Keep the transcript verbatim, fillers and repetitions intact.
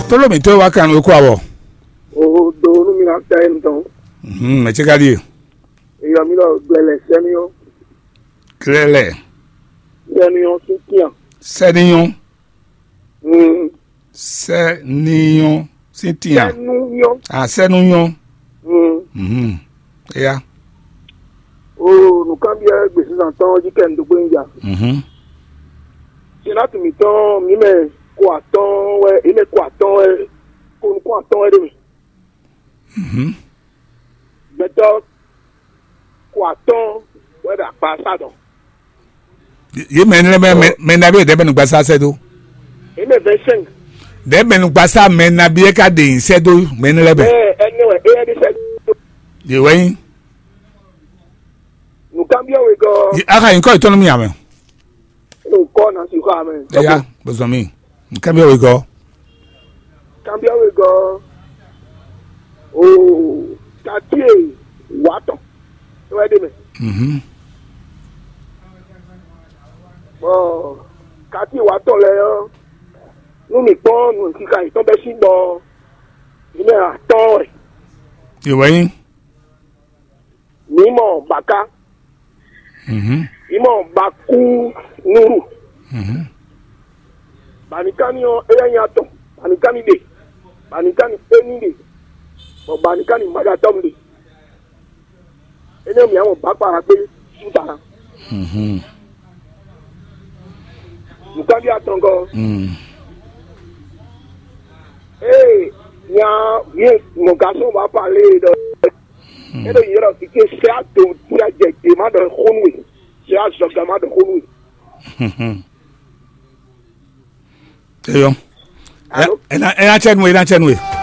Tolo mi to wa kan ko awɔ. O do nu mi na ta en tɔn. Mhm, me che ka die. E yo mi lo gbele semi yo. Klele. Semi yo si kian. Seniyon. Mm. Seniyon si tian. Senu yo. Ah, seniyon. Mm. Mhm. Eya. O nukambia gbèsè tɔn jí kɛ ndogbo nya. Mhm. Sinatu mitɔn mi mɛ ko atɔn wɛ, e mɛ ko atɔn wɛ, ko nukun atɔn wɛ ɖe mi. Mhm. Gbɛtɔ ko atɔn wɛ ɖo akpa sa dɔn. Ye mɛ ne mɛ mɛ mɛ na bi dɛ mɛ nu gbasa sɛ do. E mɛ vingt cinq. Dɛ mɛ nu gbasa mɛ na bi e ka de sɛ do mɛ ne lɛ bɛ. Ɛ ɛnɛ wɛ e yɛ de sɛ. Ye wɛ yin. Nukambia we gɔ. Ye aka yin kɔ itɔnu mi amɛ. Nukɔ na si xɔ amɛ. Eya bozɔn mi. Nukambia we gɔ. Kambia we gɔ. O katie watɔ. E wɛ de mɛ. Mhm. Bɔn katie watɔ lɛ yɔ. Nu mi kpɔn nu sika yitɔn bɛ si bɔ. Yi mɛ atɔn wɛ. Ye wɛ yin. Mǐ mɔ Baká, Mhm. mǐ mɔ Bakú Núrù. Mhm. Banikani ɔ́, éyɛ́ nyí atɔn, Banikani ɖe, Banikani éní ɖe, bɔ Banikani Magatɔ́mu ɖe. Énɛ́ mǐ mɔ Bakpara kpé Súta. Mhm. Nǔkanví atɔngɔ́. Mm. Ee, nya vǐe mɔ gasɔn ba pa lé ɖɔ. Hmm. E ɖo yi ɖɔ vǐ ce sɛ ato tia jɛ gbe ma ɖɔ xó nú we. Sɛ azɔga ma ɖɔ xó nú we. Eyɔ. Alo? Ena ena tsɛ nu ena tsɛ nu e.